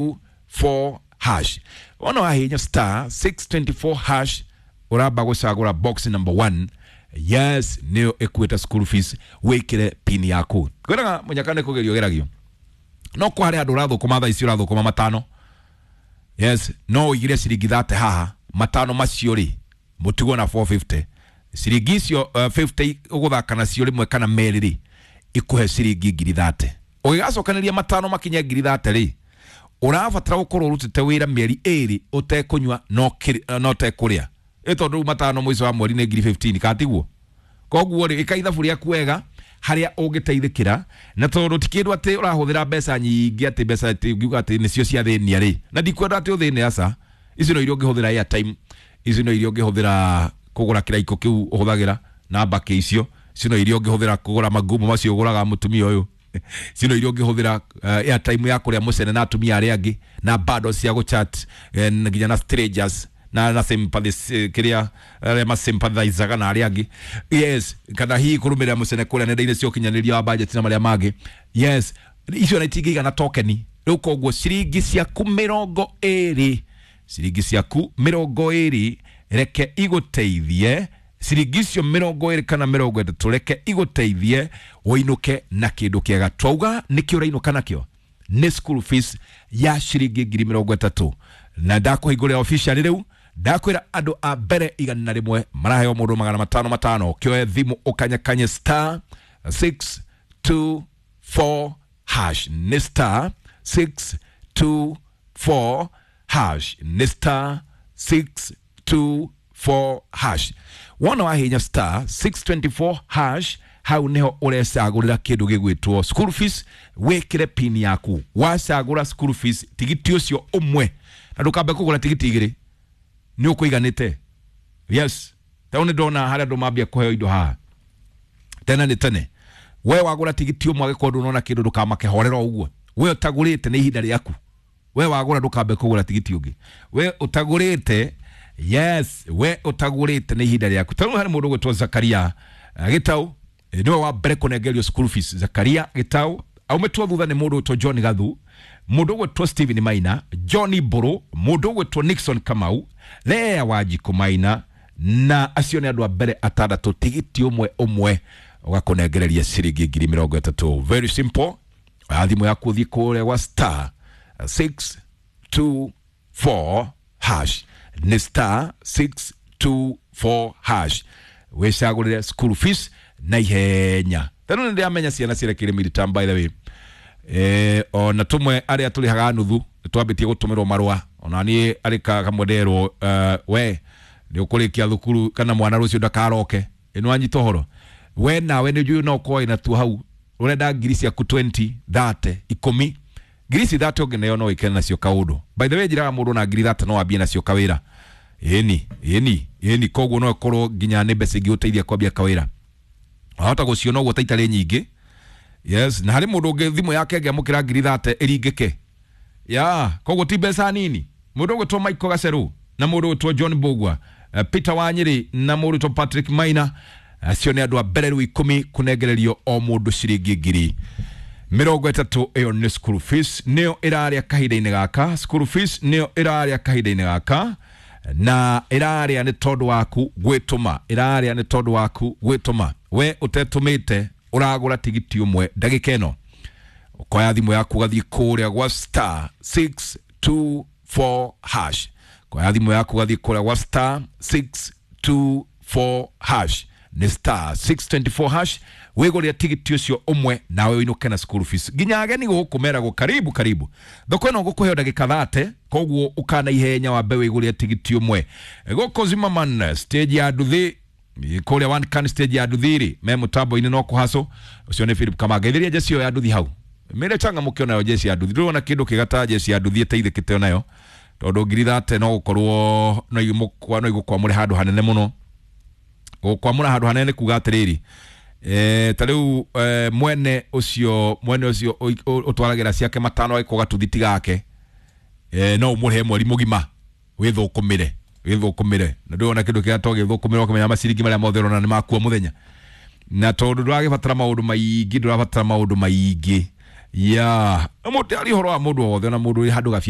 4 hash. Wona wahinya star 624 hash, uramba gucagura box number 1. Yes, niyo ikuita school fees, wikire pin yaku. Ngwiraga munyaka ni kugerio geragio, no kwa haria andu urathukuma thaa ici urathukuma matano. Yes, no uigire ciringi 30 haha, matano macio ri mutigwo na 450. Ciringi icio 50 uguthaka nacio rimwe kana meri ri ikuhe ciringi ngiri 30. Ugigacokanĩria matano makinye ngiri 30 ri, ũrabatara gũkorwo ũrutĩte wĩra mĩeri ĩrĩ ũtekũnyua no ũtekũrĩa. Ĩ tondũ rĩu matano mũico wa mweri nĩ ngiri 15 katiguo. Koguo rĩ, ĩka ithabu rĩaku wega harĩa ũngĩteithĩkĩra, na tondũ ti kĩndũ atĩ ũrahũthĩra mbeca nyingĩ, atĩ mbeca atĩ ũngiuga atĩ nĩcio ciathĩnia rĩ, na ndikwenda atĩ ũthĩne, aca. Icio no iria ũngĩhũthĩra airtime, icio no iria ũngĩhũthĩra kũgũra kĩraiko kĩu ũhũthagĩra na mbakĩ icio, icio no iria ũngĩhũthĩra kũgũra magumu macio ũgũraga mũtumia ũyũ, icio no iria ũngĩhũthĩra airtime ya kũrĩa mũcene na atumia arĩa angĩ, na bundles cia gũchat nginya na strangers na sympathy kiria arĩa masympathizaga na arĩa angĩ. Yes, kana hihi kũrũmĩrĩra mũcene kũrĩa nenda-inĩ cia ũkinyanĩria wa budget na marĩa mangĩ. Yes, icio na itingĩigana tokeni. Rĩu koguo ciringi ciaku mĩrongo ĩrĩ, ciringi ciaku mĩrongo ĩrĩ reke igũteithie, ciringi icio mĩrongo ĩrĩ kana mĩrongo ĩtatũ reke igũteithie ũinũke na kĩndũ kĩega. Twauga nĩkĩ ũrainũka nakĩo? Nĩ school fees ya ciringi ngiri mĩrongo ĩtatũ. Na ndakũhingũrĩra officially rĩu, ndakwĩra andũ a mbere 101 maraheo mũndũ magana matano matano. Kĩoe thimũ ũkanyakanye star 624 hash, nĩ star 624 hash, nĩ star 624 hash. Wona wahinya star 624 hash, hau niho ũrecagũrĩra kĩndũ gĩgwĩtwo school fees, wĩkĩre pin yaku. Wacagũra school fees tigiti ũcio ũmwe, na ndũkambe kũgũra tigiti igĩrĩ, nĩ ũkũiganĩte. Yes, tau nĩ ndona harĩa andũ mambia kũheo indo haha tene nĩ tene. We wagũra tigiti ũmwe, angĩkorwo ndũnona kĩndũ ndũkamake, horera o ũguo. We ũtagũrĩte nĩ ihinda rĩaku. We wagũra ndũkambe kũgũra tigiti ũngĩ. We ũtagũrĩte, yes, we ũtagũrĩte nĩ ihinda rĩaku. Tau harĩ mũndũ ũgwĩtwo Zakaria Gĩtau, nĩwe wa mbere kũnengerio school fees. Zakaria Gĩtau aumĩtwo thutha nĩ mũndũ ũgwĩtwo John Gathu, mũndũ ũgwĩtwo Stephen Maina, Johnny Mbũrũ, mũndũ ũgwĩtwo Nixon Kamau, Lea Wanjikũ Maina, na acio nĩ andũ a mbere atandatũ tigiti ũmwe ũmwe ũgakũnengereria ciringi ngiri mĩrongo ĩtatũ. Very simple. Oya thimũ yaku ũthiĩ kũrĩa gwa star 624 hash, nĩ star 624 hash, wĩcagũrĩre school fees na ihenya. Tondũ nĩ ndĩramenya ciana cirekeire midterm, by the way. Ona tumwe arĩa tũrĩhaga nuthu nĩtwambĩtie gũtũmĩrwo marũa. Ona niĩ arĩ kamwe nderwo, we nĩ ũkũrĩkia thukuru kana mwana rũciũ ndakaroke. Ĩ nĩwanyita ũhoro? We nawe nĩ njũĩ no ũkorwo wĩna tuo hau ũrenda ngiri ciaku 20, 30, 10. Ngiri ici 30 ũngĩneo no wĩkene nacio kaũndũ. By the way, njĩraga mũndũ na ngiri 30 no wambie nacio kawĩra. Ĩni ĩni ĩni, koguo no ĩkorwo nginya nĩ mbeca ingĩgũteithia kwambia kawĩra. Wahota gũciona ũguo ta itarĩ nyingĩ. Yes, na harĩ mũndũ ũngĩ thimũ yake ĩngĩamũkĩra ngiri 30 ĩringĩke. Ya, koguo ti mbeca nini. Mũndũ ũgwĩtwo Michael Gaceru na mũndũ ũgwĩtwo John Mbugua, Peter Wanyĩrĩ na mũndũ ũgwĩtwo Patrick Maina, acio nĩ andũ a mbere rĩu 10 kũnengererio o mũndũ ciringi ngiri mĩrongo ĩtatũ. Ĩyo nĩ school fees, nĩyo ĩrarĩa kahinda-inĩ gaka. School fees nĩyo ĩrarĩa kahinda-inĩ gaka, na ĩrarĩa nĩ tondũ waku gwĩtũma, ĩrarĩa nĩ tondũ waku gwĩtũma. We ũtetũmĩte ũragũra tigiti ũmwe ndagĩka ĩno, ũkoya thimũ yaku ũgathiĩ kũrĩa gwa star 624 hash. Koya thimũ yaku ũgathiĩ kũrĩa gwa star 624 hash, nĩ star 624 hash, wĩgũrĩre tigiti ũcio ũmwe nawe ũinũke na school fees. Nginya ageni gũkũ meragwo karibu karibu. Thoko ĩno ngũkũheo ndagĩka 30, koguo ũkana ihenya wambe wĩgũrĩre tigiti ũmwe. Gũkũ Zimmerman stage ya nduthi kũrĩa one can stage ya nduthi rĩ, me mũtambo-inĩ no kũhaco. Ũcio nĩ Philip Kamanga. Ithĩria jeci ĩyo ya nduthi hau, mĩre changamũke onayo jeci ya nduthi. Ndũrona kĩndũ kĩega ta jeci ya nduthi ĩteithĩkĩte onayo, tondũ ngiri 30 no gũkorwo no igũkwamũre handũ hanene mũno. Gũkwamũra handũ hanene kuga atĩrĩrĩ, ta rĩu mwene ũcio ũtwaragĩra ciake matano agĩkwo gatuthi gake, no ũmũrĩhe mweri mũgima wĩthũkũmĩre, wĩthũkũmĩre. Na ndũrona kĩndũ kĩrĩa to gĩthũkũmĩre ũkamenya maciringi marĩa mothe ũrona nĩ makua mũthenya. Na tondũ ndũragĩbatara maũndũ maingĩ, ndũrabatara maũndũ maingĩ. Ya mũndũ ari ũhoro wa mũndũ o wothe, ona mũndũ wĩ handũ gabia.